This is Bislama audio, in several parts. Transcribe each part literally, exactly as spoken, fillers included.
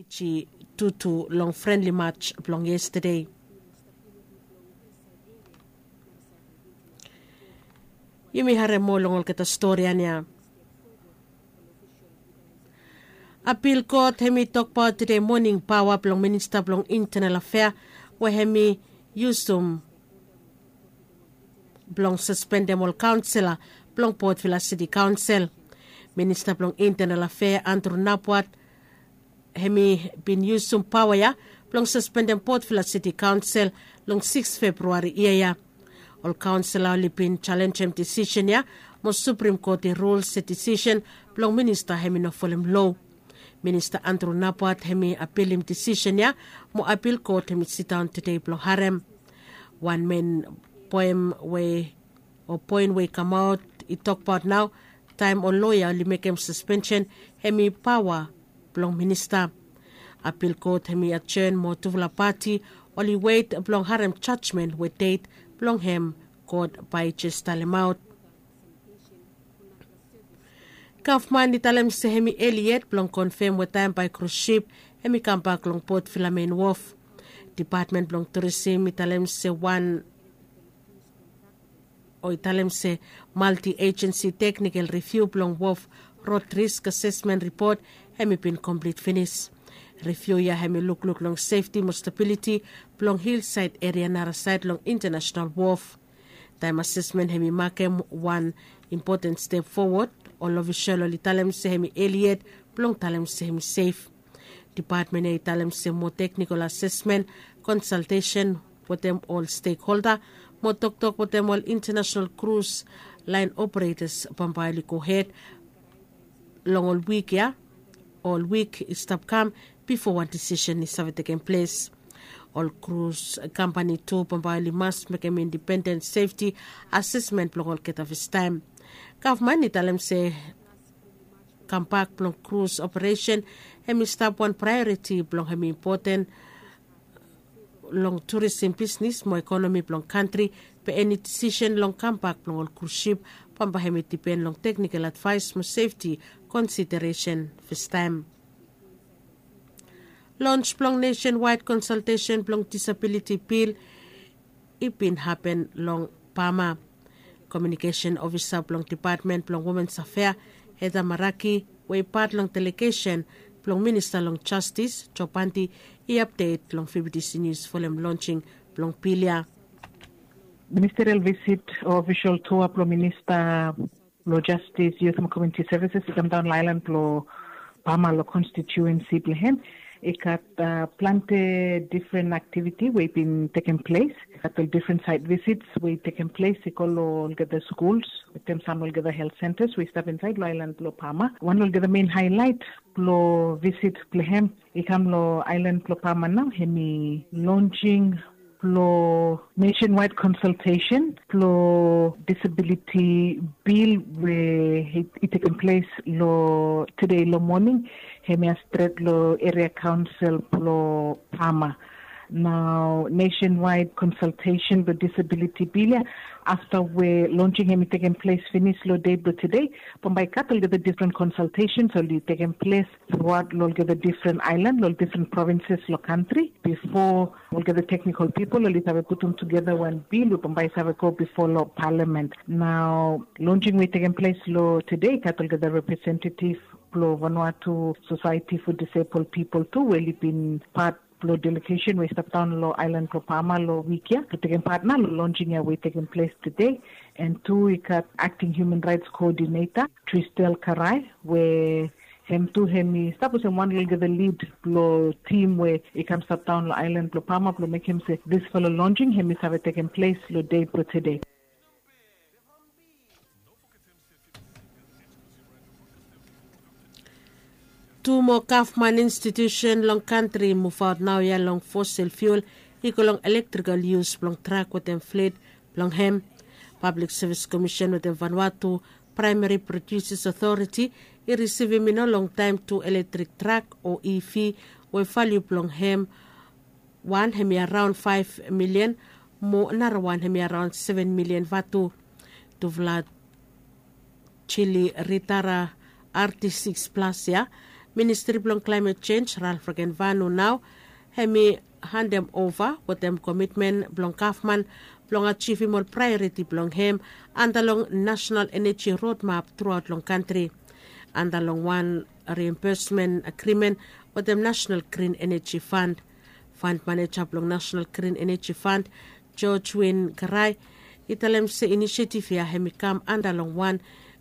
Ji tutu long frenli mats blong yestade. Yumi harem moa long olgeta stori ya. Apil kot hem i tokbaot tude moning paoa blong minista blong intenal afea we hem i yusum blong saspendem ol kaonsela blong potvila siti kaonsel. Minista blong intenal afea Andru Napwat hem i bin yusum paoa ya blong saspendem potvila siti kaonsel long siks februari yia ya. Ol kaonsela oli bin jalenjem disisen ya mo suprim kot i rul se disisen blong minista hem i no folem lo. Minista Andru Napwat hem i apilim disisen ya mo apil kot hem i sidaon tude blong harem. Wan men poem we o poen we i kamaot i tokbaot nao taem ol loea oli mekem saspensen hem i paoa blong minista. Apil kot hem i ajen mo tufala pati oli wet blong harem jajmen we det blong hem god bae i jes talemaot. Gavman i talem se hem i eli yet blong konfem we taem bae krus sip hem i kambak long potvila men wof. Dipatmen blong turisim i talem se wan o i talem se malti ejensi teknikel riviu blong wof rod risk asesmen ripot hem i bin komplit finis. Riviu ya hem i lukluk long sefti mo stabiliti blong hilsaed eria narasaed long intanasenal wof. Taem asesmen hem i makem wan impoten step fowod, ol ofisol oli talem se hem i eli yet blong talem se hem i sef. Dipatmen ya i talem se moa teknikol asesmen, konsaltesen wetem ol stekholda mo toktok wetem ol intanasenal krus laen operetas bambae oli gohed long ol wik ya ol wik i stap kam bifo wan disisen i save tekem ples. Ol krus kampani tu bambae oli mas mekem indipenden sefti asesmen blong olgeta fastaem. Gavman i talem se kambak blong krus operesen hem i stap wan praeoriti blong hem i impoten long turisim bisnis mo ekonomi blong kantri. Be eni disisen long kambak blong ol krus sip bambae hem i dipen long teknikal advaes mo sefti konsideresen fastaem. Lons blong nesenwaed konsaltesen blong disabiliti bil i bin hapen long pama. Komiunikesen ofisa blong dipatmen blong womens afea heda maraki we i pat long delegesen blong minista long jastis jopandi i apdet long fibidisi nius folem lonsing blong bil ya. Ministerial visit o ofisol tua blong minista blong jastis yut mo komiuniti sevises i kamdaon long aelan blong pama long konstitiuensi blong hem. I gat plante difren aktiviti we i bin tekem ples. I gat ol difren saed visits we i tekem ples i go long olgeta skuls wetem sam olgeta helt sentas we i stap insaed long aelan blong pama. Wan long olgeta men haelaet blong visit blong hem i kam long aelan blong pama nao hem i lonsing blong nesenwaed konsaltesen blong disabiliti bil we i tekem ples long tude long moning. Hem ya stret long eria kaonsel blong pama. Nao nesenwaed konsaltesen blong disabiliti bil ya afta we lonsing hem i tekem ples finis long de blong tude, bambae i gat olgeta difren konsaltesens oli tekem ples truaot long olgeta difren aelan long ol difren provinses long kantri bifo olgeta teknikol pipol oli save putum tugeta wan bil we bambae i save go bifo long palamen. Nao lonsing we i tekem ples long tude i gat olgeta representatif blong vanuatu sosaeti fo disebol pipol tu we oli bin pat blong delegesen we i stap daon long aelan blong pama long wik ya blong tekem pat nao long lonsing ya we i tekem ples tude. An tu i gat akting hiuman raets koodineta Tristel Karai we hem tu hem i stap olsem wan long olgeta lid blong tim we i kam stap daon long aelan blong pama blong mekem se disfala lonsing hem i save tekem ples long de blong tude. Tu moa gavman institiusen long kantri i muvaot naoia long fosil fiul i go long elektrikal yus blong trak wetem flit blong hem. Pablik sevis komisen wetem vanua tu praemari prodiusis otoriti i risivim i no longtaem tu elektrik trak o iv we valiu blong hem wan hem i araon faef milian mo narawan hem i araon seven milian vatu. Tufala jili ritara arti siks plas ya Ministri blong klaemet jenj Ralf Regenvanu nao hem i handem ova wetem komitmen blong gavman blong ajivim ol praeoriti blong hem anda long nasenal eneji rodmap truaot long kantri anda long wan riembesmen agrimen wetem nasenal grin eneji fand. Fand maneja blong nasenal grin eneji fand, George Win Garai, i talem se inisiativ ya hem i kam anda long wan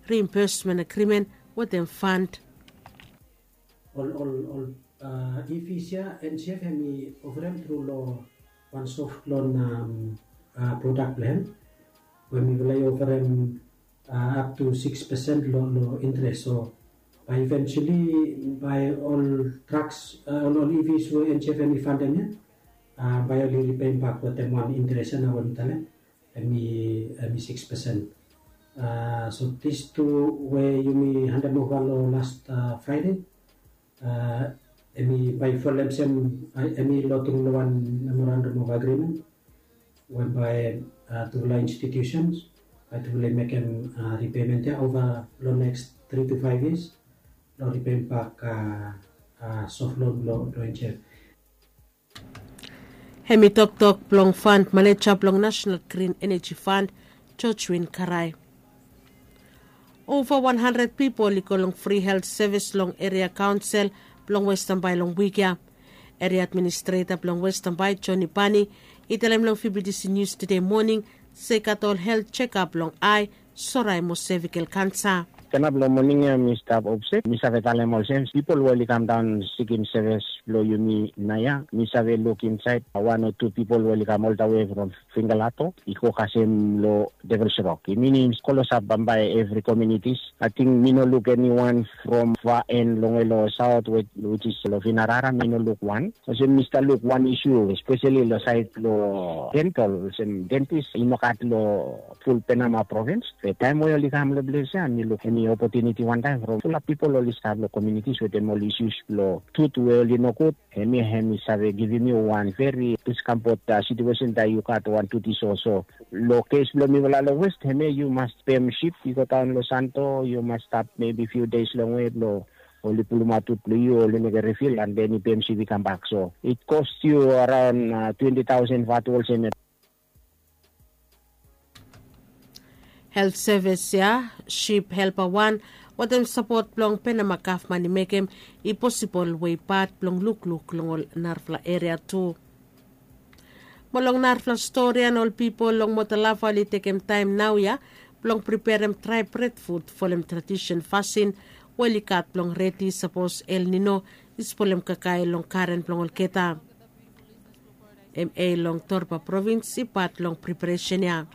riembesmen agrimen wetem fand. Ol ol ol ivis ya ensief hem i oferem tru long wan sof lon prodak blong hem we mifala i oferem ap tu siks pesen long interes. So bae iventuali bae ol draks ol ol ivis we ensief hem i fandem ya bae ol i ripem bak wetem wan interes ya na we mi talem hem i siks pesen. So dis tu we yumi handem ova long last fraide hem i bae i folem sem hem i lo tru long wan memorandum of agreement we bae tufala institutions bae tufala i mekem ripement ya ova long neks tri tu faev yias long ripem bak sof lon blong ensief. Hem i toktok blong fand maneja blong nasenal grin eneji fand, George Win Karai. Ova wan handred pipol i go long fri helt sevis long eria kaonsel blong Weston Bae long wik ya. Eria administreta blong Weston Bae, Joni Bani, i talem long Fibidisi Nius tude moning se i gat ol helt jekap long ae, sorae mo sevikel kansa. Stanap long moning ya mi stap opset mi save talem olsem pipol we oli kam daon sikim sevis blong yumi naoia mi save luk insaed wan o tu pipol we oli kam oltawe from fingalato i go kasem long devilsrok i minim kolosap bambae evri komunitis. Ating mi no luk eniwan from fa en longwe long saot wejis long vinarara mi no luk wan olsem mi stap luk wan isu espeseli long saed long dentol olsem dentis i no gat long ful penama provins. Be taem we oli kam long ples ya mi luk eni opotuniti wantaem from fulap pipol oli stap long komunitis wetem ol isus blong tut we oli nogud. Hemia hem i save givim yu wan veri diskampot situesen taem yu gat wan tut i soso. Long kes blong mifala long west hemia yu mas pem sip i go daon long santo yu mas stap mebi fiu des longwe blong oli pulumaot tut blong yu oli mekem rifil an den i pem sip i kambak so it kost yu araon twenti taosen vatu olsem ya. Helt sevis ya sip helpa wan wetem sapot blong penama gavman i mekem i posibol we i pat blong lukluk long ol narafala eria tu. Mo long narafala stori ya na ol pipol long motalava oli tekem taem naoia blong priperem drae bredfut folem tradisen fasin we oli gat blong redi sapos el nino i spolem kakae long garen blong olgeta. Em ei long torba provins i pat long priparesen ya.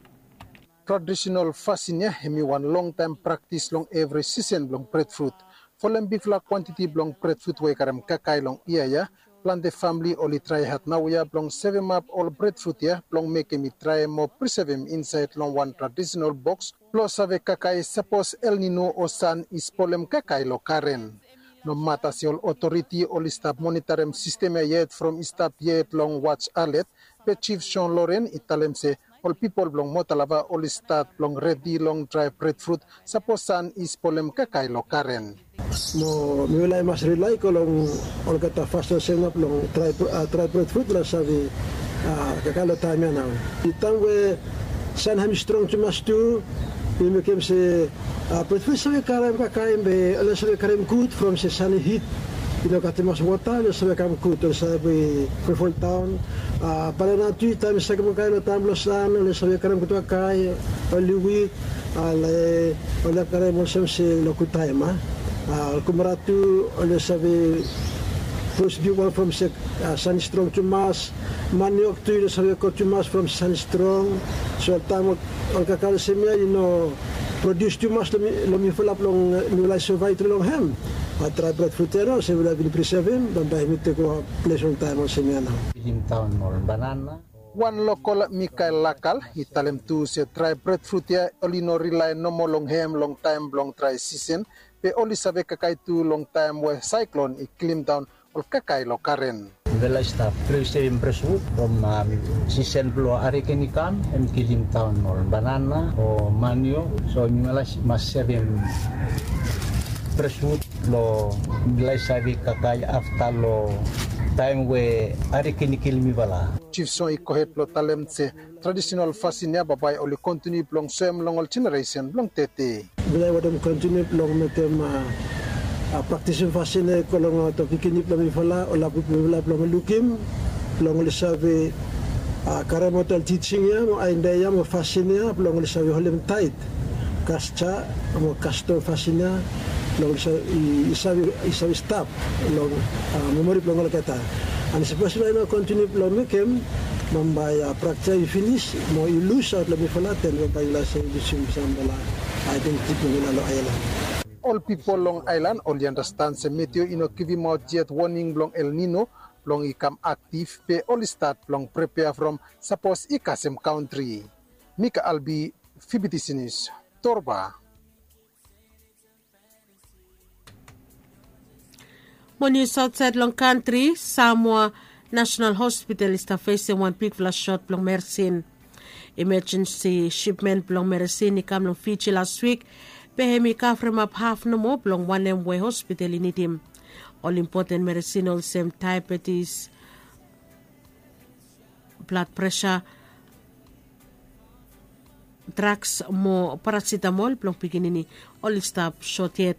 Tradisenal fasin ya hem i wan longtaem praktis long evri sisen blong bredfrut. Folem bigfala kwantiti blong bredfrut we i karem kakae long yia ya, plante famle oli traehat naoia blong sevemap ol bredfrut ya blong mekem i drae mo prisevem insaed long wan tradisenal boks blong save kakae sapos elnino o san i spolem kakae long garen. Nomata se ol otoriti oli stap monitarem sistem ya yet from i stap yet long wats alet, be jif jon loren i talem se ol pipol blong motalava oli stat blong redi long drae bredfrut sapos san i spolem kakae long garen. Mo mifala i mas rilai go long olgeta fas olsem ya blong drae bredfrut blong save kakae long taem ya nao. I taem we san hem i strong tumas tu i mekem se bredfrut i save karem kakae be oli no save karem gud from se san i hit i no gat tumas wota oli no save kam gud oli save folfoldaon. Banana tu taem i save kam kakae long taem blong san oli no save karem gud kakae oli wik ale oli no karem olsem se long gud taem a. Kumara tu oli no save pros bigwan from se san i strong tumas. Maniok tu i no save go tumas from san i strong. So taem ol kakae olsem ya i no prodius tumas long mifala blong mifala i sovae tru long hem. Bat drae bredfrut ya nao olsem mifala bin prisevem bambae hem i tekem ples long taem olsem ya nao. Wan lokol mikael lakal i talem tu se drae bredfrut ya oli no rilae nomo long hem long taem blong drae sisen, be oli save kakae tu long taem we saeklon i klimdaon ol kakae long garen. Mifala i stap prisevem bredfrut from sisen blong ariken i kam hem i klimdaon ol banana o maniok. So mifala i mas sevem Preswud long milai save kakae afta long taem we ari kinikilim mifala. Jif song i gohed blong talem se tradisenal fasin ya bambae oli kontiniu blong soem long ol jeneresen blong tede. Milai watem kontiniu blong mekem praktisim fasin ya i go long ol pikinini blong mifala ol laplap mifala blong lukim blong oli save karem ol tijing ya mo aenda ya mo fasin ya blong oli save holim taet. Kasja mo kastom fasin ya blong i save stap long memori blong olgeta. An sapos i no kontiniu blong mekem bambae praktis ya i finis mo i lusaot long mifala ten bambae i las ya i lusim sampela aedentiti blong mifala long aelan. Ol pipol long aelan oli andastan se meteo i no givimaot yet woning blong el nino blong i kam aktiv be oli stat blong prepea from sapos i kasem kantri. Mika albi, fibitisinis, torba. Mo nius aotsaed long kantri, samoa nasenal hospital i stap fesem wan bigfala sot blong meresin. Imajensi sipmen blong meresin i kam long fiji las wik be hem i kavremap haf nomo blong wanem we hospital i nidim. Ol impoten meresin olsem daebetis, blad presa, draks mo parasitamol blong pikinini oli stap sot yet.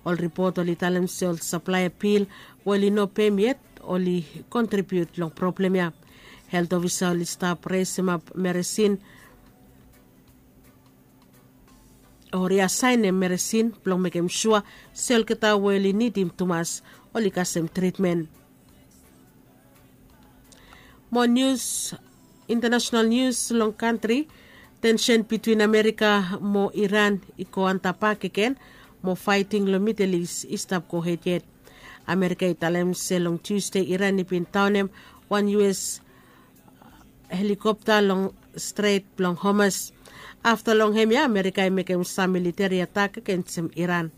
Ol ripot oli talem se ol saplaea bil we oli no pem yet oli kontribiut long problem ya. Helt ofisa oli stap resemap meresin o riasaenem meresin blong mekem sua se olgeta we oli nidim tumas oli kasem tritmen. Mo nius, intanasenal nius long kantri, tensen bitwin amerika mo iran i go antap bakegen mo faeting long midel is i stap gohed yet. Amerika i talem se long tusde iran i bin daonem wan us helikopta long stret blong homas. Afta long hem ya amerika i mekem sam militeri atak agensem iran.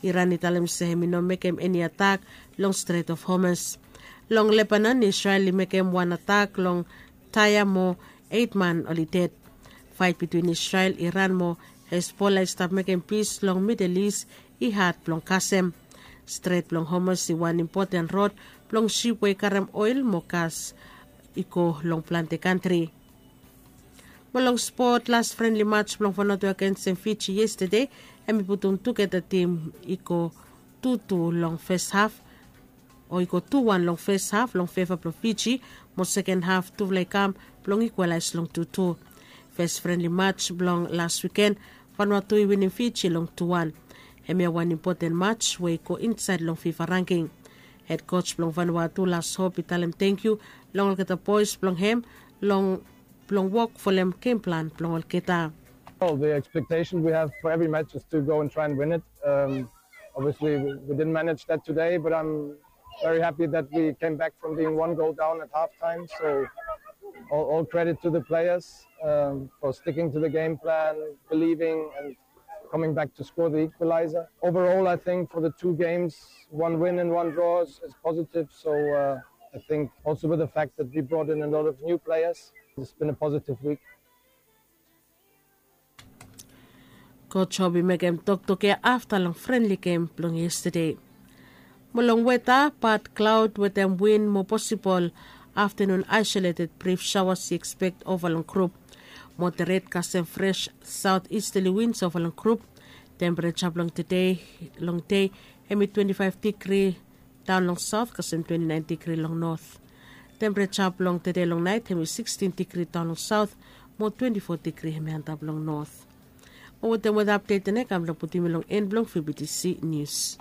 Iran i talem se hem i no mekem eni atak long stret of homas. Long lebanon isrel i mekem wan atak long taea mo eit man oli ded. Faet bitwin isrel iran mo hesbola i stap mekem pis long midel is i had blong kasem. Stret blong homas i wan impoten rod blong sip we i karem oel mo gas i go long plante kantri. Mo long spot las frenli mats blong vanatu agensem fiji yestade, hem i putum tugeta tim i go tutu long fes haf o i go tuwan long fes haf long feva blong fiji, mo seken haf tufala i kam blong ikwalaes long tutu. Fes frenli mats blong las wiken, vanatu i winim fiji long tuwan. Hemia wan impoten mats we i go insaed long fifa rangking. Hed kos blong vanua tu las hop i talem tengkiu long olgeta boes blong hem long blong wok folem gem plan blong olgeta. Oh, the expectation we have for every match is to go and try and win it. Um, obviously, we, we didn't manage that today, but I'm very happy that we came back from being one goal down at halftime. So, all, all credit to the players um, for sticking to the game plan, believing, and coming back to score the equalizer. Overall, I think for the two games, one win and one draw is, is positive. So uh, I think also with the fact that we brought in a lot of new players, it's been a positive week. Coach Hobi mekem toktok ya afta long frenli gem blong yestade. Mo long weta, bad klaod wetem win mo posibol aftanun, aesoleted brif saoas i ekspek ova long grup. Moderet kasem fres saot istali wins ova long grup. Tempereja blong tede long dei hem i twenti faef digri daon long saot kasem twenti naen digri long not. Tempereja blong tede long naet hem i sikstin digri daon long saot mo twenti fo digri hem i antap long not. Mo wetem weta apdet ya na i kam blong putum yu long en blong fibitisi nius.